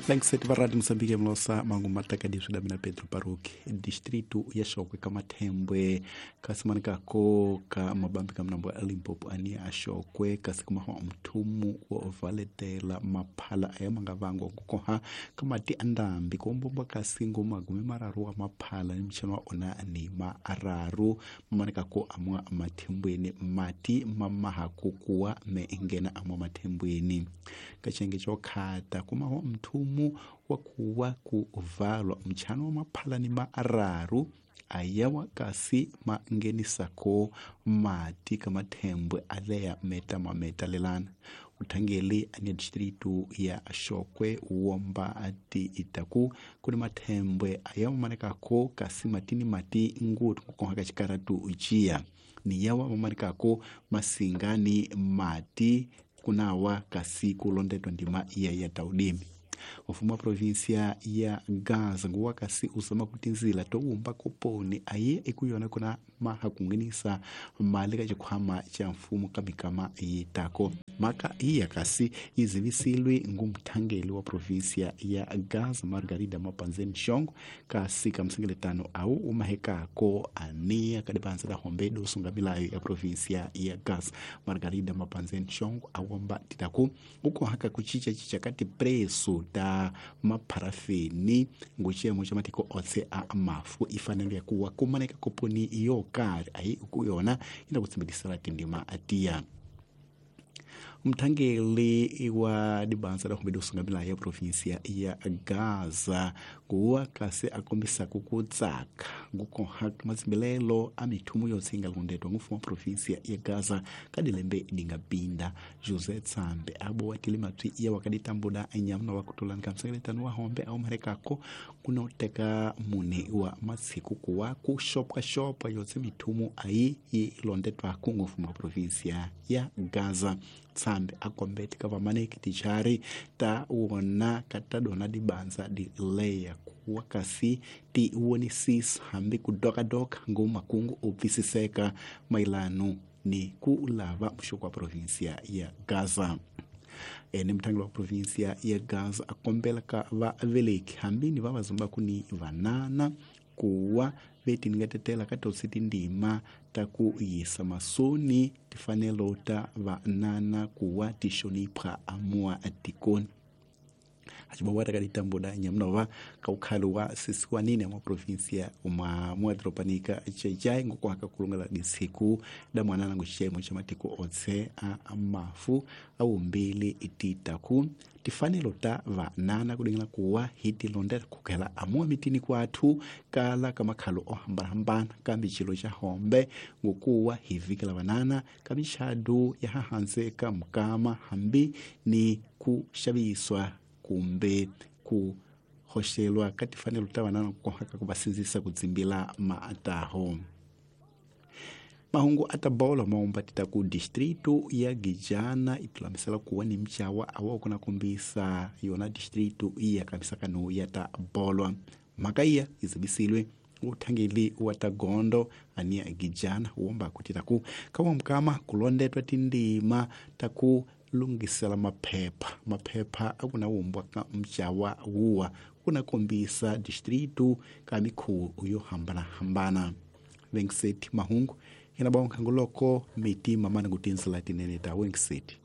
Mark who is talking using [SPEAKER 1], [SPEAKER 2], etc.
[SPEAKER 1] Langseti va Radio Mozambique mlosa mangu matakadi swi damina Pedro Baruki distrito ya Shokwe ka Mathembwe kasi manikako ka mabambi ka mnambo ya Limpopo ani a Shokwe kasi kumaho mthumu wa valetela maphala aya manga vangwa kukoha ka mati andambi kuombomba kasi ngoma gume mararu wa maphala ni mchano wa ona ni mararu manikako amwa mathembweni mati mamaha kukuwa meengena amwa mathembweni kachenge chokhata kumaho mthumu wakuwa kuvalwa mchano wa maphala ni mararu ayawa kasi mangenisako mati kamathembwe aleya meta mameta lelana uthangeli ania distrito ya Shokwe womba ati itaku kuni mathembwe ayawa manekako kasi matini mati ngutu kukoha kachikaratu ujia ni yawa mamanekako masingani mati kunawa kasi kulondetwa ndima iya ya taudimi mfumo wa provinsia ya Gaza nguwa kasi usama kutinzila towumba koponi aye ikuyona kuna maha kungenisa mali ka chikhwama cha mfumo ka mikama yitako maka iya kasi izivisilwe ngumthangeli wa provinsia ya Gaza Margarida Mapanzeni Shongo kasi kamsengeletano au umahekako ania kadipanza la hombedo usungamilayo ya provinsia ya Gaza Margarida Mapanzeni Shongo awomba titaku uko haka kuchicha chicha kati preso ta mapharafeni nguchiyemo cha matiko otse a mafu ifanelo ya kuwa kumaneka koponi yo kari ayi ukuyona ina kutsimbidisela tindima atiya mthangeli wa dibanza la humbedo usungamila ya provinsia ya Gaza kuwa kasi akombisako kutsaka ngukoha matsimbilelo a mithumu yotse ingalondetwa ngufumo wa provinsia ya Gaza kadilembe dingapinda José Tsambe abowa tile matwi iya wakaditambuda anyamuna wakutulani kamsengeletano wa hombe aumarekako kunoteka mune wa matsiku kuwa kuxopwaxopwa yotse mithumu ayi yi londetwako ngufumo wa provinsia ya Gaza Tsambe akombete ka vamaneki tichari ta wona ka ta dona dibanza di leya kuwa kasi ti wonisisa hambi ku dokadoka ngumakungu u pfisiseka mailano ni ku lava muxoko wa provinsia ya Gaza. Ene mthangeli wa provinsia ya Gaza akombela ka vaveleki hambi ni va vazumbaku ni vanana kuwa vetiningetetela ka totse tindima ta ku yisa masoni tifanelo ta vanana kuwa tixonipha amua atikoni acibawata ka ditambuda nyamnova ka ukhali wa sisiwanini mwa provinsia mwa mwadropanika chechai ngukuhaka kulungela disiku da mwanana nguxiyemo xa matiko otse a mafu awumbili ititaku tifanelo ta vanana kudingela kuwa hi tilondela kukhela amuwa mitini kwathu kala ka makhalo o hambanahambana kambe xilo xa hombe ngukuwa hi vikela vanana ka mixadu ya hahanse ka mukama hambi ni ku xaviswa kumbe ku hoxelwa ka tifanelo ta vanana ku va sindzisa ku dzimbila maataho. Mahungu a ta bolo maumba tita ku distrito ya Gijana itulamisela kuwa ni mchawa awa kuna kombisa yona distrito iya kamisakano ya ta bolwa mhaka iya izibisilwe uthangeli wa ta gondo ania Gijana womba kutita ku kawa mkama kulondetwa tindima ta ku lungisela maphepha akuna wumbwa ka mchawa wuwa kuna kombisa distrito ka mikhuwo yo hambanahambana. Venkseti mahungu ina baonkhangu loko miti mamani kutinzela tinene ta Wenkseti.